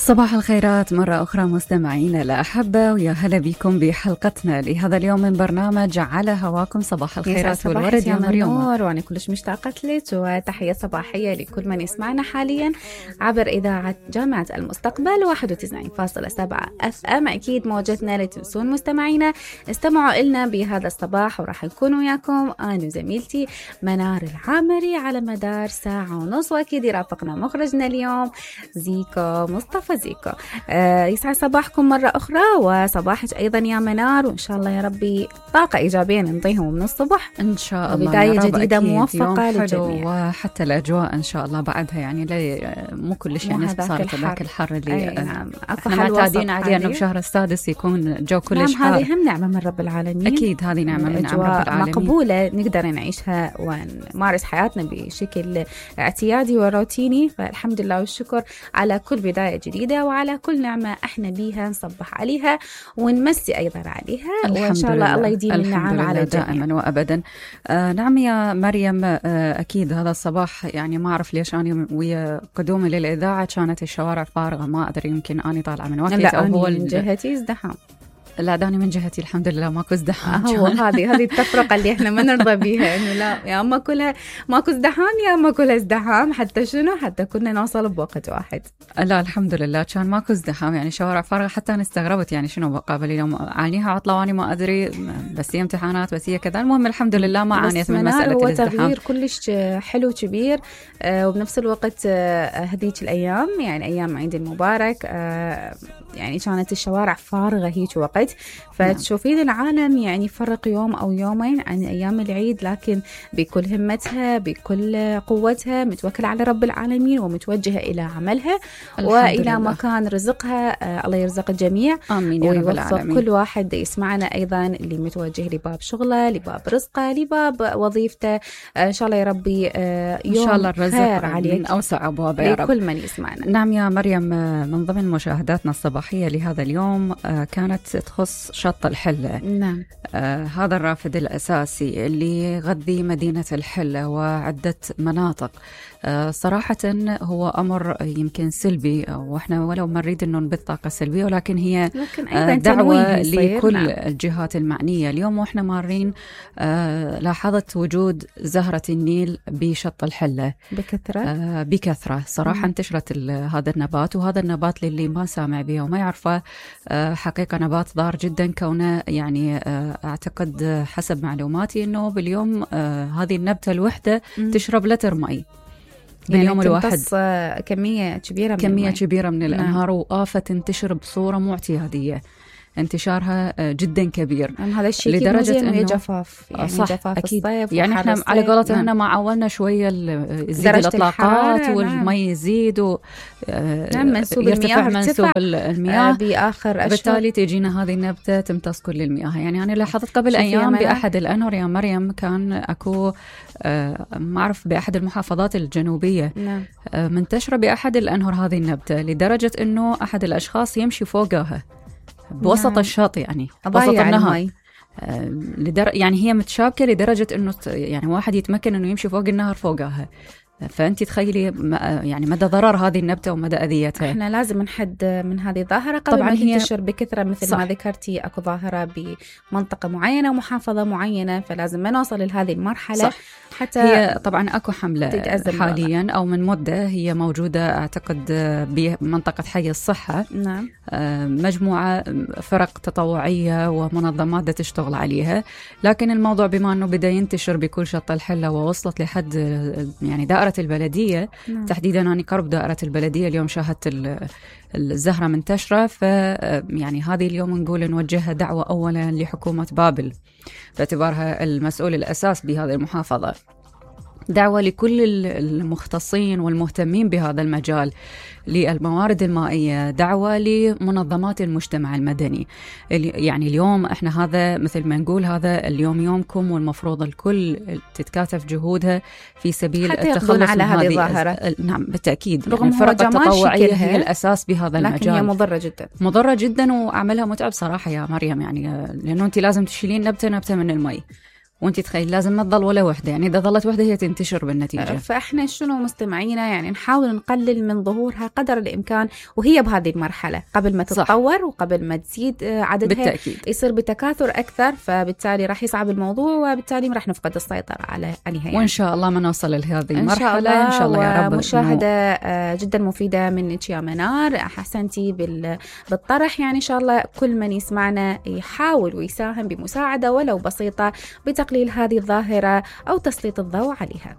صباح الخيرات مرة أخرى مستمعينا الأحبة، ويا هلا بكم بحلقتنا لهذا اليوم من برنامج على هواكم. صباح الخيرات والورد يا مريم، وأنا كلش مشتاقة لك، وتحية صباحية لكل من يسمعنا حاليا عبر إذاعة جامعة المستقبل 91.7 FM. أكيد موجتنا لا تنسون مستمعينا استمعوا إلنا بهذا الصباح، وراح نكون وياكم أنا وزميلتي منار العامري على مدار ساعة ونص، وأكيد يرافقنا مخرجنا اليوم زيكو مصطفى زيكو. يسعد صباحكم مرة أخرى وصباحك أيضا يا منار، وإن شاء الله يا ربي طاقة إيجابية ننطيهم من الصبح إن شاء الله، بداية جديدة موفقة للجميع، وحتى الأجواء إن شاء الله بعدها يعني مو كلش يعني صارت ذاك الحر اللي نعم. احنا معتادين عليه أنه بشهر السادس يكون الجو كلش حار. نعم، هذه هم نعمة من رب العالمين، أكيد هذه نعمة من رب العالمين مقبولة نقدر نعيشها ونمارس حياتنا بشكل اعتيادي وروتيني، فالحمد لله والشكر على كل بداية جديدة وعلى كل نعمة احنا بيها نصبح عليها ونمسي أيضا عليها، وإن شاء الله يديم النعم على الجميع دائما وأبدا. نعم يا مريم، أكيد هذا الصباح يعني ما أعرف ليش أنا ويا قدومي للإذاعة كانت الشوارع فارغة، ما أدري يمكن أنا طالعة من وقت أو هو من جهتي ازدحام. لا داني من جهتي الحمد لله ماكو ازدحام. هو هذه التفرقة اللي احنا ما نرضى بيها، انه لا يا اما كلها ماكو ازدحام يا اما كلها ازدحام، حتى شنو حتى كنا نوصل بوقت واحد. لا الحمد لله كان ماكو ازدحام، يعني شوارع فارغة، حتى انا استغربت يعني شنو قبل يوم عانيها عطلة واني ما ادري، بس هي امتحانات بس هي كذا. المهم الحمد لله ما عانيت من مسألة الازدحام. هو تغيير كلش حلو كبير، وبنفس الوقت هذيك الايام يعني ايام عيد المبارك يعني كانت الشوارع فارغة هيك وقت، فتشوفين العالم يعني فرق يوم أو يومين عن أيام العيد، لكن بكل همتها بكل قوتها متوكلة على رب العالمين ومتوجهة إلى عملها وإلى مكان رزقها. الله يرزق الجميع آمين يا رب العالمين. ويوفق كل واحد يسمعنا أيضا اللي متوجه لباب شغله لباب رزقه لباب وظيفته، إن شاء الله يا ربي يوم إن شاء الله الرزق عليك من أوسع أبوابه يا رب لكل من يسمعنا. نعم يا مريم، من ضمن مشاهداتنا الصباحية لهذا اليوم كانت تخص شط الحلة. نعم. هذا الرافد الأساسي اللي يغذي مدينة الحلة وعدة مناطق. صراحة هو أمر يمكن سلبي، وإحنا ولو ما نريد أنه نبث طاقة سلبية، ولكن هي دعوة لكل الجهات المعنية. اليوم وإحنا مارين لاحظت وجود زهرة النيل بشط الحلة بكثرة. صراحة انتشرت هذا النبات، وهذا النبات للي ما سامع به وما يعرفه حقيقة نبات ضار جدا، كونه يعني أعتقد حسب معلوماتي أنه باليوم هذه النبتة الوحدة تشرب لتر مي باليوم الواحد، كمية كبيرة من الأنهار، وآفة تنتشر بصورة مو اعتيادية، انتشارها جدا كبير. هذا الشيء لدرجة انه جفاف، يعني صح جفاف أكيد. الصيف يعني احنا على قولتهم هنا ما عولنا شوية يزيد الإطلاقات والمي يزيد يرتفع منسوب المياه بآخر أشهر، بالتالي تجينا هذه النبتة تمتص كل المياه. يعني أنا لاحظت قبل أيام بأحد الأنهر يا مريم، كان أكو ما أعرف بأحد المحافظات الجنوبية منتشرة بأحد الأنهر هذه النبتة، لدرجة أنه أحد الأشخاص يمشي فوقها بوسط الشاط، يعني وسط النهر، يعني هي متشابكة لدرجة أنه يعني واحد يتمكن أنه يمشي فوق النهر فوقها. فأنت تخيلي يعني مدى ضرر هذه النبتة ومدى أذيتها. احنا لازم نحد من هذه الظاهرة قبل طبعا ما تنتشر بكثرة، مثل ما ذكرتي أكو ظاهرة بمنطقة معينة ومحافظة معينة، فلازم ما نوصل لهذه المرحلة. صح. حتى هي طبعا أكو حملة حاليا أو من مدة هي موجودة أعتقد بمنطقة حي الصحة. نعم. مجموعة فرق تطوعية ومنظمات تشتغل عليها، لكن الموضوع بما أنه بدأ ينتشر بكل شط الحلة ووصلت لحد يعني دائرة البلدية. نعم. تحديدا أنا قرب دائرة البلدية اليوم شاهدت الزهرة منتشرة، يعني هذه اليوم نقول نوجهها دعوة أولا لحكومة بابل باعتبارها المسؤول الأساس بهذه المحافظة، دعوة لكل المختصين والمهتمين بهذا المجال للموارد المائية، دعوة لمنظمات المجتمع المدني. يعني اليوم احنا هذا مثل ما نقول هذا اليوم يومكم، والمفروض الكل تتكاتف جهودها في سبيل التخلص على هذه الظاهرة. نعم بالتأكيد، يعني الفرق التطوعية هي الأساس بهذا المجال، لكن هي مضرة جدا وعملها متعب صراحة يا مريم، يعني لأنه أنت لازم تشيلين نبتة من المي، وانت تخيل لازم ما تضل ولا وحده، يعني اذا ظلت وحده هي تنتشر بالنتيجه. فاحنا شنو مستمعينا يعني نحاول نقلل من ظهورها قدر الامكان وهي بهذه المرحله قبل ما تتطور. صح. وقبل ما تزيد عددها بالتأكيد. يصير بتكاثر اكثر، فبالتالي راح يصعب الموضوع وبالتالي راح نفقد السيطره عليها يعني. وان شاء الله ما نوصل لهذه المرحله ان شاء الله يا رب. مشاهده جدا مفيده منك يا منار، احسنتي بالطرح يعني. ان شاء الله كل من يسمعنا يحاول ويساهم بمساعده ولو بسيطه بتقليل هذه الظاهره او تسليط الضوء عليها.